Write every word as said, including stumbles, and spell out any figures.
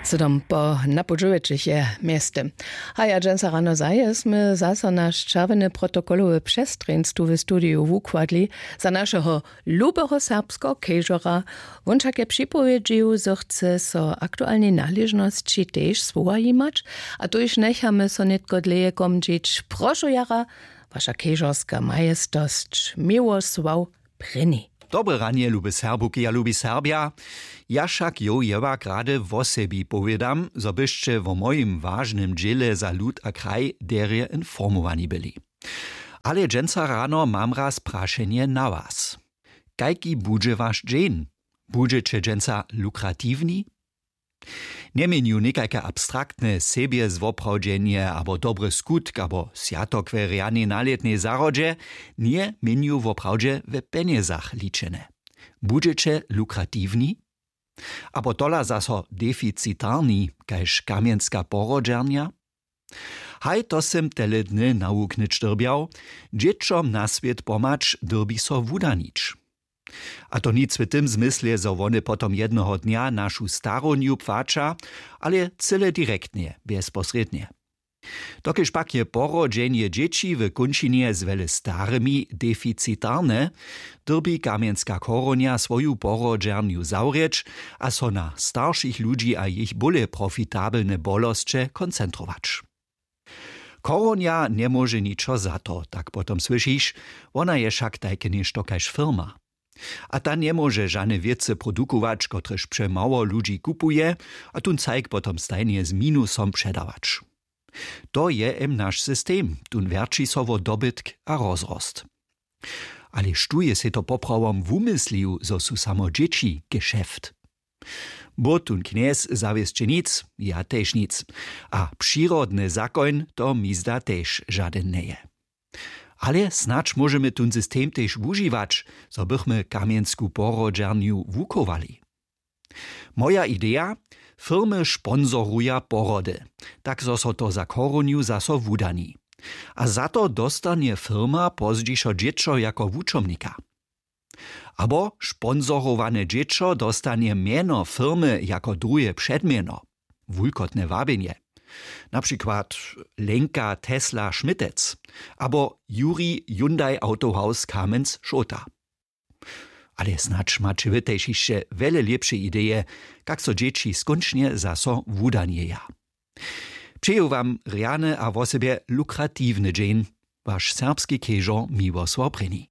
Sydom po napoł dźewjećich je mjeztym. Haja dźensa rano zajesmy zaso naš čerwjeny protokolowy přestrjeństwu w studiju wukładli za našeho lubeho serbskeho kežora. Wón wšak je připowědźił, zo chce so aktualnej naležnosći tež słowa jimać, a tuž njechamy so nětko dlěje komdźić. Prošu jara, waša kežorska majestosć, miłosław prěni. Dobre ranje, lube Serbuki a lubi Serbja. Ja wšak jow jewak rady wosebi powědam, zo byšće wo mojim wažnym dźěle za lud a kraj derje informowani byli. Ale dźensa rano mam raz prašenje na was. Kajki budźe waš dźeń? Budźeće dźensa lukratiwni? Njeměnju někajke abstraktne sebjezwoprawdźenje abo dobry skutk abo swjatok we rjanej nalětnej zahrodźe, njeměnju woprawdźe we pjenjezach ličene. Budźeće lukratiwni? Abo tola zaso deficitarni, kaž kamjenska porodźernja? Haj, to sym tele dny nawuknyć dyrbjał. Dźěćom na swět pomhać dyrbi so wudanić. A to nic w tym zmysle, zo wone potom jednoho dnja našu starownju płaća, ale cyle direktnje, bjezposrědnje. Dokelž pak je porodźenje dźěći w kónčinje z wjele starymi deficitarne, dyrbi kamjenska chorownja swoju porodźernju zawrěć a so na staršich ludźi a jich bóle profitabelne bolosće koncentrować. Chorownja njemóže ničo za to, tak potom słyšiš. Wona je wšak tajke něšto kaž firma. A ta njemóže žane wěcy produkować, kotrež přemało ludźi kupuje, a tón cajk potom stajnje z minusom předawać. To je em naš system, tón wjerći so wo dobytk a rozrost. Ale štó je sej to poprawom wumyslił, zo su samo dźěći gešeft? Bó tón knjez zawěsće nic, ja tež nic. A přirodny zakoń to mi zda tež žadyn njeje. Ale snadź móžemy tón system tež wužiwać, zo bychmy kamjensku porodźernju wuchowali. Moja ideja: firmy sponsoruja porody, tak zo so to za chorownju zaso wudani. A za to dostanje firma pozdźišo dźěćo jako wučomnika. Abo sponsorowane dźěćo dostanje mjeno firmy jako druhe předmjeno. Wulkotne wabjenje. Na přikład Lenka Tesla Schmittec abo Juri Hyundai Autohaus Kamenc Šołta. Ale snadź maće wy tež hišće wjele lěpše ideje, kak so dźěći skónčnje zaso wudanjeja. Přeju wam rjany a wosebje lukratiwny dźeń. Waš serbski kežor Miłosław Prěni.